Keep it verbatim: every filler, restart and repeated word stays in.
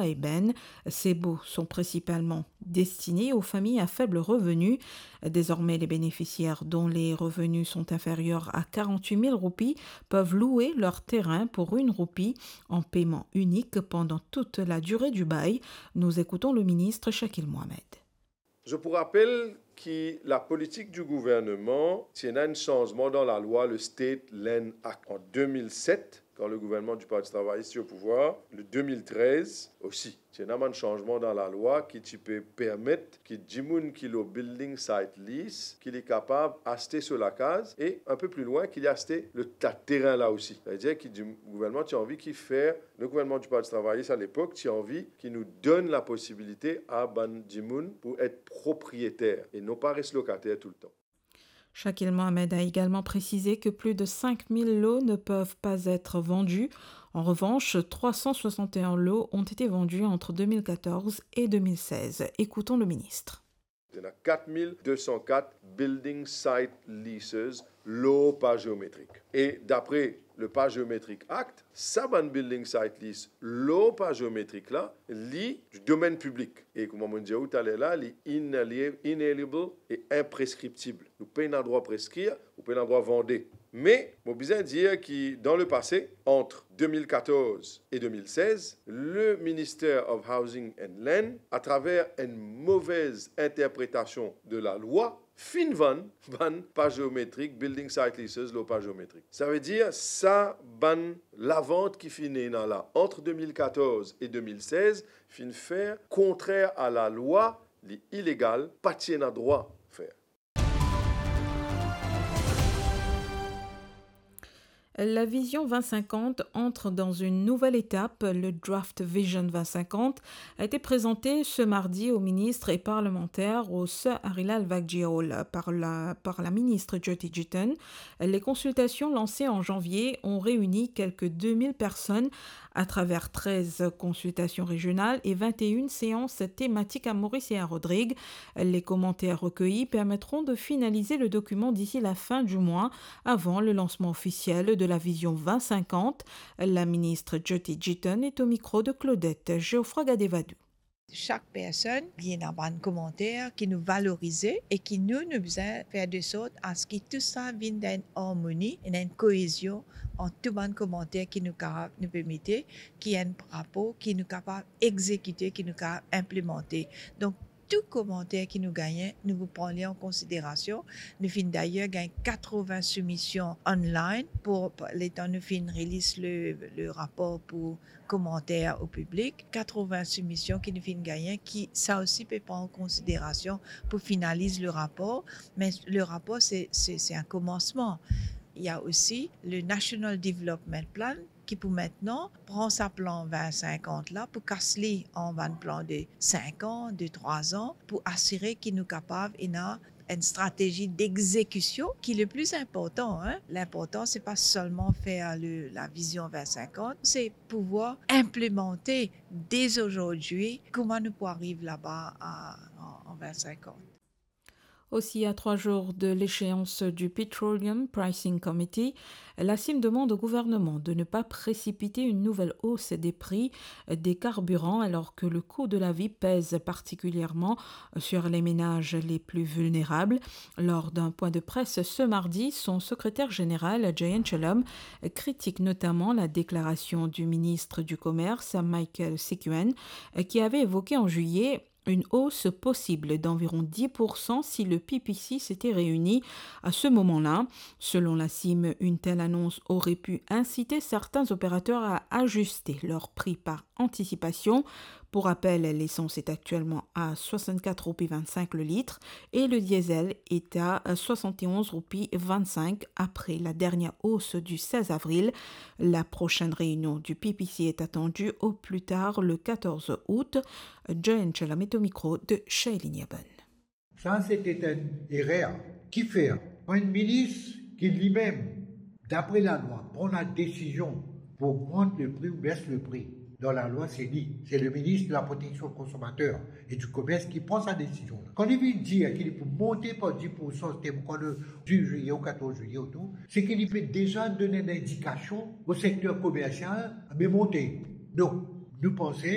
ében. Ces baux sont principalement destinés aux familles à faible revenu. Désormais, les bénéficiaires dont les revenus sont inférieurs à quarante-huit mille roupies peuvent louer leur terrain pour une roupie en paiement unique pendant toute la durée du bail. Nous écoutons le ministre Shakil Mohamed. Zot pou rapel ki lapolitik di gouvernman ti ena enn sanzman dan lalwa, le State Land Act, an de mil set, kan le gouvernman di Parti Travayis ti o pouvwar, le de mil trez osi. Ti ena bann sanzman dan lalwa ki ti pe permet ki dimoun ki lor building site lease, ki li kapav aste so lakaz e, enn pe pli lwin, ki li aste le ta-, terin la osi. Savedir ki di-, gouvernman ti anvi ki fer, le gouvernman di Parti Travayis alepok ti anvi ki nou donn laposibilite a bann dimoun pou et propriyeter e non pa res lokater toultan. Shakil Mohamed a également précisé que plus de cinq mille lots ne peuvent pas être vendus. En revanche, trois cent soixante et un lots ont été vendus entre deux mille quatorze et deux mille seize. Écoutons le ministre. Ena kat mil de san kat building site leases lor pa zeometrik. E dapre le pa zeometrik Act, sa bann building site lease lor pa zeometrik la, li di domenn piblik. E kouma mo dir ou taler la, li inali-, inalienable e inpreskriptib. Ou pena drwa preskrir, ou pena drwa vande. Me mo bizin dir ki dan le pase, ant de mil katorz e de mil sez, le Minister of Housing and Land, atraver enn movez interpretasion de lalwa, finn vann bann pa zeometrik, building site leases lor pa zeometrik. Savedir sa bann lavant ki finn ena la ant de mil katorz e de mil sez finn fer kontrer a lalwa, li ilegal, pa ti ena drwa fer. La vision vingt cinquante entre dans une nouvelle étape. Le Draft Vision vingt cinquante a été présenté ce mardi aux ministres et parlementaires au Sir Harilal Vakji Hall par la, par la ministre Jyoti Jitan. Les consultations lancées en janvier ont réuni quelques deux mille personnes à travers treize consultations régionales et vingt et une séances thématiques à Maurice et à Rodrigues. Les commentaires recueillis permettront de finaliser le document d'ici la fin du mois, avant le lancement officiel de la vision vingt cinquante. La ministre Jyoti Jitan est au micro de Claudette Geoffroy Gadevadou. Chak personn, li ena bann komanter ki nou valorize e ki nou, nou bizin fer de sort a se ki tou sa vinn dan enn armoni, ena enn koezion ant tou bann komanter ki nou kapav, nou pe mete, ki enn rapor ki nou kapav egzekite, ki nou kapav inplimante. Donk, tou komanter ki nou gagne, nou pou pran li an konsiderasion. Nou finn dayer gagn katrovin soumision online pou, pou letan nou finn release le, le rapor pou komanter o piblik. Katrovin soumision ki nou finn gagne, ki sa osi pe pran an konsiderasion pou finaliz le rapor. Me le rapor, se, se, se enn komansman. Il y a aussi le National Development Plan, ki pou mintnan pran sa plan vin sinkant la, pou kas li an bann plan de sink an, de trwa an, pou asire ki nou kapav ena enn stratezi d'exécution ki le pli inportan, hein. L'inportan, se pa selman fer le, la vizion vin sinkant, se pouvwar inplimante dès aujourd'hui kouma nou pou ariv laba a, an, an vin sinkant. Aussi, à trois jours de l'échéance du Petroleum Pricing Committee, la CIM demande au gouvernement de ne pas précipiter une nouvelle hausse des prix des carburants alors que le coût de la vie pèse particulièrement sur les ménages les plus vulnérables. Lors d'un point de presse ce mardi, son secrétaire général, Jayant Shalom, critique notamment la déclaration du ministre du Commerce, Michael Sikuen, qui avait évoqué en juillet une hausse possible d'environ dix pour cent si le P P C s'était réuni à ce moment-là. Selon la CIM, une telle annonce aurait pu inciter certains opérateurs à ajuster leur prix par anticipation. Pour rappel, l'essence est actuellement à soixante-quatre roupies vingt-cinq le litre et le diesel est à soixante et onze roupies vingt-cinq après la dernière hausse du seize avril. La prochaine réunion du P P C est attendue au plus tard le quatorze août. Jayant Shalom est au micro de Shailene Yaban. Sa, se te enn erer. Kifer? Enn minis ki limem, dapre lalwa, pran ladesizion pou ogmant le pri ou bes le pri. Dan lalwa, se li, se le minis de la proteksion konsomater e di komers ki pran sa desizion la. Kan li vinn dir ki li pou monte par dis pour san, se te kan le dis zwiye ou katorz zwiye ou tou, se ki li pe deza donn enn lindikasion o sekter komersial, me monte. Donk, nou panse